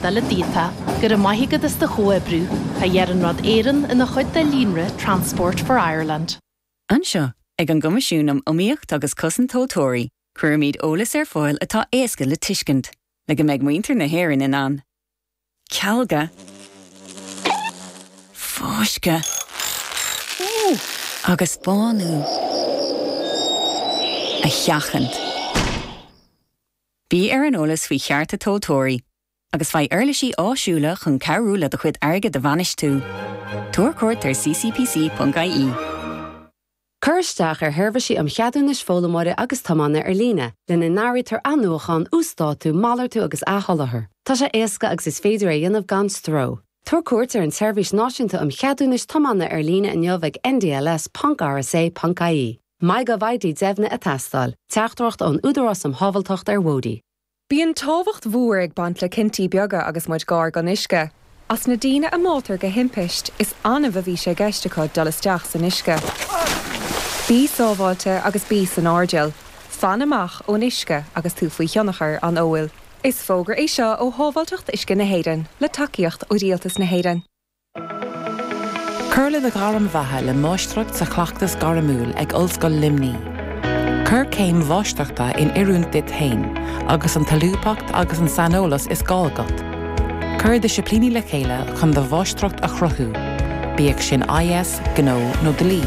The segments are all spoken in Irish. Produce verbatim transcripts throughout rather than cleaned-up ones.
Eile daofa, go raibh maith agat as do chomhoibriú, tá Iarnród Éireann ina chuid de líonra Transport for Ireland. Anseo ag an gCoimisiún um Iomaíocht agus Cosaint Tomhaltóirí, cuirimid eolas ar fáil atá éasca le tuiscint, le go mbeidh muintir na hÉireann in ann. Cealga Fáisceadh agus bánú a sheachaint. Bí ar an eolas faoi chearta tomhaltóirí, agus faigh uirlisí áisiúla chun cabhrú le do chuid airgid a bhainistiú. Tabhair cuairt ar ccpc.ie. Cuir isteach ar sheirbhísí um cheadúnais foghlaimeora agus tiomána ar líne, lena n-áirítear athnuachan, uasdátú, malartú agus athsholáthar. Tá sé éasca agus is féidir é a dhéanamh gan stró. Tabhair cuairt ar an tSeirbhís Náisiúnta um Cheadúnais Tiomána ar líne inniu ag ndls.rsa.ie. MyGovID deimhnithe ag teastáil, teachtaireacht ón Údarás um Shábháilteacht ar Bhóithre. Bíonn tábhacht mhór ag baint le cinntí beaga agus muid gar don uisce. As na daoine a mbáitear de thimpiste is annamh a bhí sé i gceist acu dul isteach san uisce. Bí sábháilte agus bí san airdeall, Fan amach ón uisce agus tú faoi thionchar an óil. Is fógra é seo ó Shábháilteacht Uisce na hÉireann le tacaíocht ó Rialtas na hÉireann. Cuir le do ghairm bheatha le máistreacht sa chleachtas gairmiúil ag Ollscoil Luimnigh. Cuir céim mháistreachta in oiriúint duit féin, agus an tsolúbthacht agus an saineolas is gá agat. Cuir disciplíní le chéile chun do mháistreacht a chruthú, bíodh sin IS, gnó nó dlí.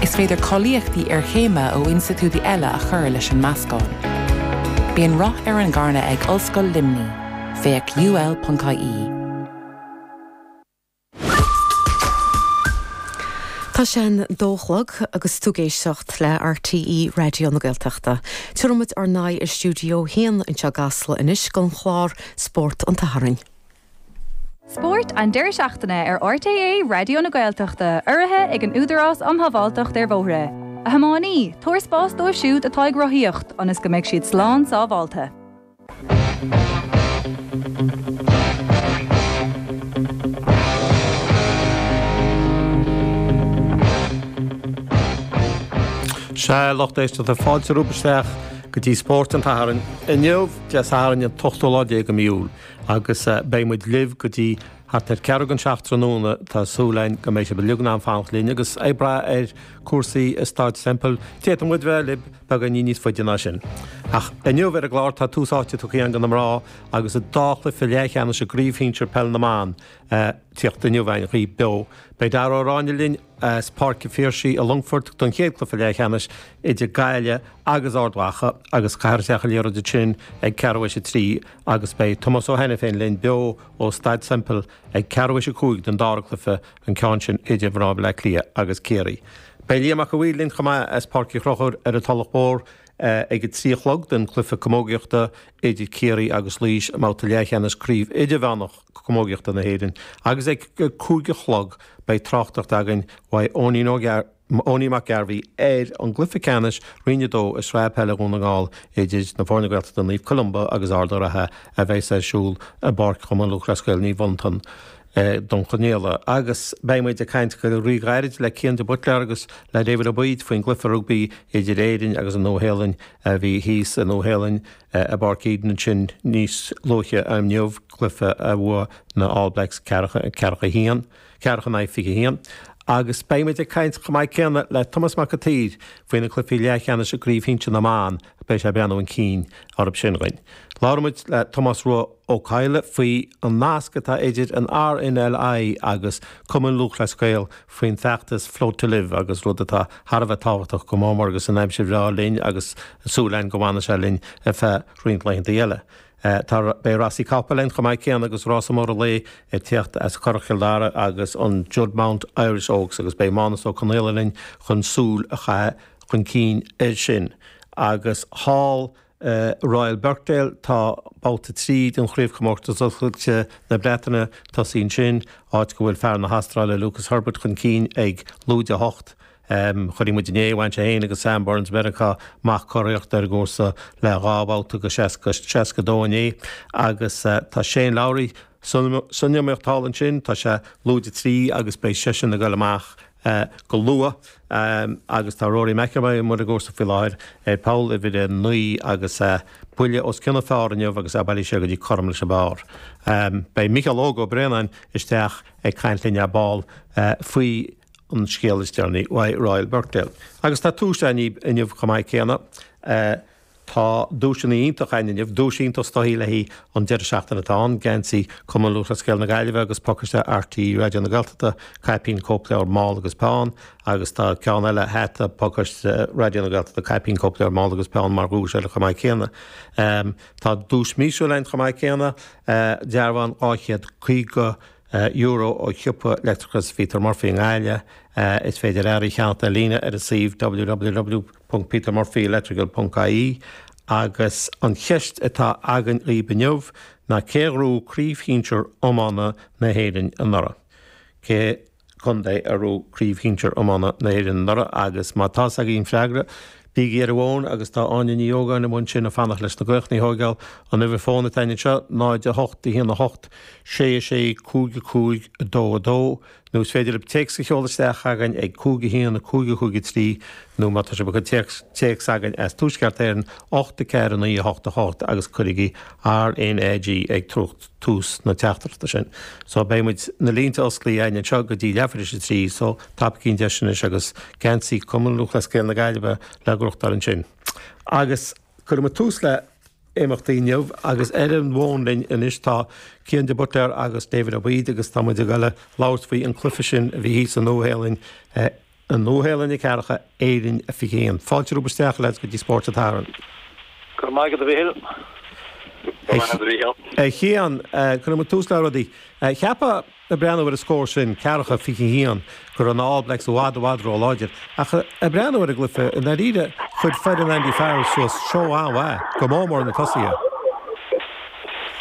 Is féidir cáilíochtaí iarchéime ó institiúidí eile a chur leis an meascán. Bíonn rath ar an gcarnadh ag Ollscoil Luimnigh, féach UL.ie. Tá sé an dó a chlog agus tú ag éisteacht le RTÉ Raidió na Gaeltachta. Tabharfaimid ár n-aghaidh ar Stiúideo a haon anseo i gCasla anois don chlár Spórt an tSathairn. Spórt an deireadh seachtaine ar RTÉ Raidió na Gaeltachta, urraithe ag an Údarás um Shábháilteacht ar Bhóithre. A thiománaí, tabhair spás dóibh siúd atá ag rothaíocht, ionas go mbeidh siad slán sábháilte. Sea, lucht éisteachta fáilte romhaibh isteach go dtí Spórt an tSathairn. Inniu Dé Sathairn an t-ochtú lá déag de mhí Iúil agus beidh muid libh go dtí thart ar ceathrú don seacht tráthnóna. Tá súil againn go mbeidh sibh uilig in ann fanacht linn agus ag brath ar cúrsaí i Staid Semple, d'fhéadfadh muid bheith libh beagáinín níos faide ná sin. Ach inniu ar an gclár tá tús áite tugtha againn do na mná agus an dá chluiche leathcheannais i gCraobh Shinsir Peil na mBan tíocht inniu againn dhaoibh beo. Beidh Dara Ó Ráinne linn as Páirc an Phiarsaigh i Longfort don chéad chluiche leathcheannais idir Gaillimh agus Ard Mhacha agus caithfear isteach an liathróid ansin ag ceathrú théis a trí agus beidh Tomás Ó hAiniféin linn beo ó Staid Semple ag ceathrú théis a cúig don dara cluiche, an ceann sin idir mná Bhaile Átha Cliath agus Ciarraí. Beidh Liam Mac a' Mhaoil linn chomh maith as Páirc Uí Chonchúir ar an Tulach Mhór ag a trí a chlog don chluiche camógaíochta idir Ciarraí agus Laois i mbabhta leathcheannais Craobh Idirmheánach Camógaíochta na hÉireann agus ag a cúig a chlog beidh tráchtaireacht againn uaidh Eoinín Ó Eoinín Mac Gairbhí ar an gcluiche ceannais Roinn a dó i Sraith Peile Dhún na nGall idir na foirne Gaeltachta Naomh Columba agus Ard an Rátha a bheas ar siúl i bPáirc Chumann Lúthchleas Gael Naomh Fhionntain. Dún Conaola. Agus beidh muid ag caint go ríghairid le Cian de Buitléar agus le David Ó Baoid faoin gcluiche rugbaí idir Éirinn agus an Nua-Shéalainn a bhí thíos i Nua-Shéalainn i bPáirc Eden ansin níos luaithe inniu, cluiche a bhuaigh na All Blacks ceathracha a haon, ceathracha in aghaidh fiche a haon. Agus beidh muid ag caint chomh maith céanna le Tomás Mac an tSaoir faoi na cluichí leathcheannais i gCraobh Shinsir na mBan, beidh sé ag breathnú chun cinn orthu sin dhuinn. Labhróidh muid le Tomás Rua Ó Cadhla faoi an nasc atá idir an RNLI agus Cumann Lúthchleas Gael faoin bhfeachtas Float to Live agus rud atá thar a bheith tábhachtach go mór mór agus an aimsir bhreá linn agus súil againn go bhfanfaidh sé linn ar feadh roinnt laethanta eile. Tá beidh rásaí capall linn chomh maith céanna agus rása mór an lae ag tíocht as Currach Chill Dara agus an Juddmonte Irish Oaks agus beidh Mánas Ó Conaola linn chun súil a chaitheamh chun cinn air sin agus thall i Royal Birkdale tá babhta trí den Chraobhchomórtas Oscailte na Breataine tosaithe ansin, áit go bhfuil fear na hAstráile Lucas Herbert chun cinn ag lúide a hocht. Chonaic muid inné, bhain sé féin agus Sam Burns Mheiriceá amach curiarracht ar an gcúrsa le dhá bhabhta go seasca dó inné agus tá Shane Lowry san iomaíocht thall ansin, tá sé lúide trí agus beidh seisean ag dul amach go luath agus tá Rory McIlroy amuigh ar an gcúrsa faoi láthair ar pholl uimhir a naoi agus buille os cionn an phar inniu agus é bailithe sé go dtí cothrom leis an bpar. Beidh Micheál Óg Ó Braonáin isteach ag caint linn ar ball faoi an scéal is deireanaí uaidh Royal Birkdale. Agus tá duais againn inniu chomh maith céanna. Tá duaiseanna iontach againn inniu, duais iontach is dóichí le haghaidh an deireadh seachtaine atá ann, geansaí Chumann Lúthchleas Gael na Gaillimhe agus pacáiste RTÉ Raidió na Gaeltachta, caipín, cóipleabhar, mála agus peann, agus tá ceann eile, hata, pacáiste Raidió na Gaeltachta, caipín, cóipleabhar, mála agus peann mar dhuais eile chomh maith céanna. Tá duais míosúil againn chomh maith céanna, dearbhán dhá chéad caoga euro ó shiopa leictreachais Pheter Murphy i nGaillimh. Is féidir earraí a cheannacht ar líne ar an suíomh www ponc petermurphyelectrical ponc ie agus an cheist atá againn dhaoibh inniu ná cé a ghnóthaigh Craobh Shinsir Iomána na hÉireann anuraidh? Cé contae a ghnóthaigh Craobh Shinsir Iomána na hÉireann anuraidh agus má tá's agaibh an freagra, bígí ar an bhfón agus tá Áine Ní Ógáin amuigh ansin ag fanacht leis na glaochanna a thógáil. An uimhir fóin atá againn anseo, náid a hocht a haon a hocht sé a sé cúig a cúig a dó a dó nó is féidir libh téacs a sheoladh isteach chugainn ag cúig a haon a cúig a cúig a trí nó má tá sibh ag cur téacs téacs chugainn as Tuaisceart Éireann ocht a ceathair a naoi a hocht a hocht agus cuirigí RNAG ag tús na teachtaireachta sin. So beidh muid na línte osclaithe againn anseo go dtí leathuair tar éis a trí so tapaígí an deis anois agus geansaí Cumann Lúthchleas Gael na Gaillimhe le gnóthachtáil ansin. Agus cuirfidh muid tús le imeachtaí inniu agus ar an bhfón linn anois tá Cian de Buitléar agus David Ó Baoid agus tá muid ag dul a labhairt faoi an cluiche sin a bhí thíos sa Nua-Shéalainn, an Nua-Shéalainn a ceathracha, Éirinn a fiche haon. Fáilte romhaibh isteach lads go dtí Spórt an tSathairn. Go raibh maith agat a Mhíchíl. Go raibh maith agat a Mhíchíl. A Chian, cuirfidh muid tús le rudaí. Cheapfá ag breathnú ar an scór sin, ceathracha, fiche a haon, go raibh na All Blacks i bhfad, i bhfad ró-láidir. Ach ag breathnú ar an gcluiche, i ndáiríre, chuir foireann Andy Farrell suas seó an-mhaith, go mór mór na tosaithe.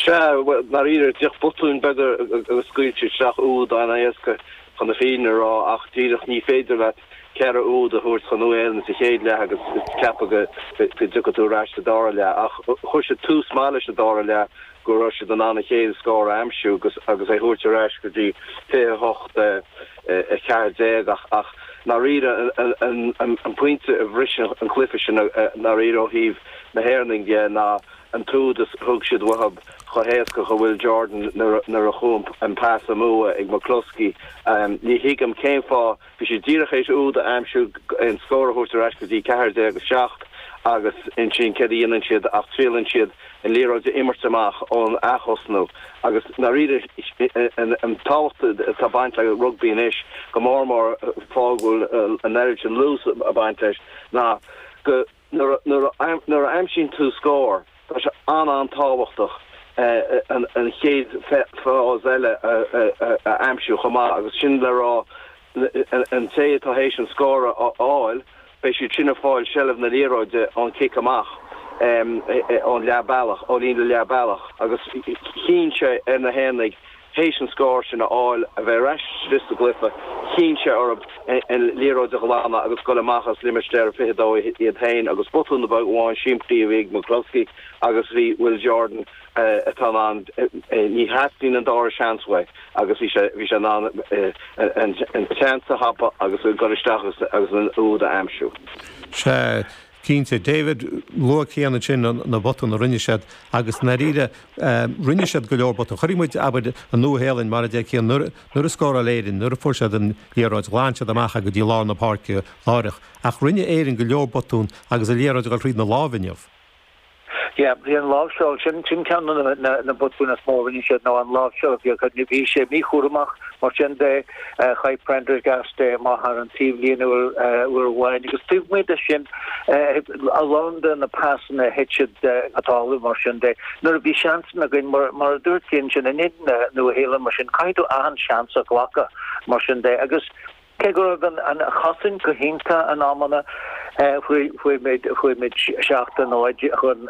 Sea, bhuel, i ndáiríre, díreach botúin beaga agus scaoil siad isteach úd an-éasca chun na fírinne a rá ach díreach ní féidir leat ceithre úd a thabhairt chun Nua-Shéalainn sa chéad leath agus ceapadh go dtiocfaidh tú ar ais sa dara leath. Ach chuir siad tús maith leis an dara leath go raibh siad in ann an chéad scór a aimsiú agus agus é a thabhairt ar ais go dtí fiche a hocht a ceathair déag ach ach ndáiríre an pointe a bhris an cluiche sin ndáiríre ó thaobh na hÉireannaigh dhe ná an t-úd a thug siad uathu chomh héasca do Will Jordan nuair a chuaigh an pas amú ag McCloskey. Ní thuigim cén fáth, bhí siad díreach théis úd a aimsiú, an scór a thabhairt ar ais go dtí ceathair déag a seacht agus ansin céard a dhéanann siad ach triaileann siad an liathróid a imirt amach ón ath-thosnú agus ndáiríre an tábhacht atá ag baint le rugbaí anois, go mór mór fáth go bhfuil an oiread sin luas ag baint leis, ná go Nuair a aimsíonn tú scór, tá sé an-an-tábhachtach an chéad phase eile a aimsiú chomh maith agus sin le rá an té atá théis an scór a fháil, beidh siad sin ag fáil seilbh na liathróide ón chic amach ón leath bealach, ó líne leath bealach agus chinn sé ar na hÉireannaigh théis an scór sin a fháil, a bheith ar ais istigh sa gcluiche, chinn sé orthu an liathróid a ghlanadh agus dul amach as limistéar a fiche dó iad féin agus botún beag amháin simplí a bhí ag McCloskey agus bhí Will Jordan atá in ann, ní theastaíonn an dara seans uaidh agus bhí sé bhí sé in ann an seans a thapú agus dul isteach agus an úd a aimsiú. Sea, Cinnte. David, luaigh Cian ansin na botúin a rinne siad agus i ndáiríre rinne siad go leor botún. Chonaic muid, abair, an Nua-Shéalainn, mar a deir Cian, nuair a scóráil Éirinn, nuair a fuair siad an liathróid, ghlan siad amach é go dtí lár na páirce láithreach. Ach rinne Éirinn go leor botún agus an liathróid ag dul thríd na lámha inniu. Yeah, bhí an láimhseáil, sin, sin ceann de na, na botúin is mó a rinne siad ná an láimhseáil a bhí acu. Bhí sé míchúramach, mar sin de, chaith Prendergast é amach thar an taobhlíne uair, uair amháin agus taobh amuigh de sin, a lán de na pasanna a thit siad go talamh mar sin de. Nuair a bhí seansanna againn, mar, mar a dúirt Cian sin, in éadan na Nua-Shéalainne mar sin, caithfidh tú achan seans a ghlacadh mar sin de agus, Cé go raibh an chosaint go hiontach in amanna, fuair muid seacht a náid chun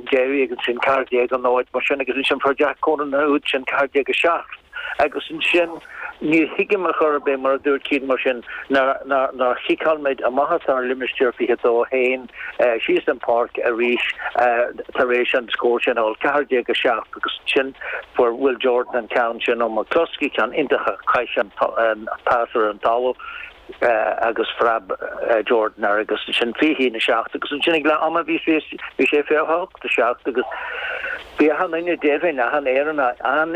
deiridh agus ansin ceathair déag a náid mar sin agus ansin fuair Jack Conan an úd sin ceathair déag a seacht agus ansin ní thuigim ar chor ar bith mar a dúirt Cian mar sin nár chiceáil muid amach as ár limistéar fiche dó féin síos an pháirc arís tar éis an scór sin a fháil, ceathair déag a seacht agus ansin fuair Will Jordan an ceann sin ó McCloskey, ceann iontach a chaith sé an pas ar an talamh. agus phreab Jordan air agus sin fiche haon a seacht agus ansin ag leath ama bhí bhí sé fiche hocht a seacht agus bhí achan duine deimhin achan Éireannach an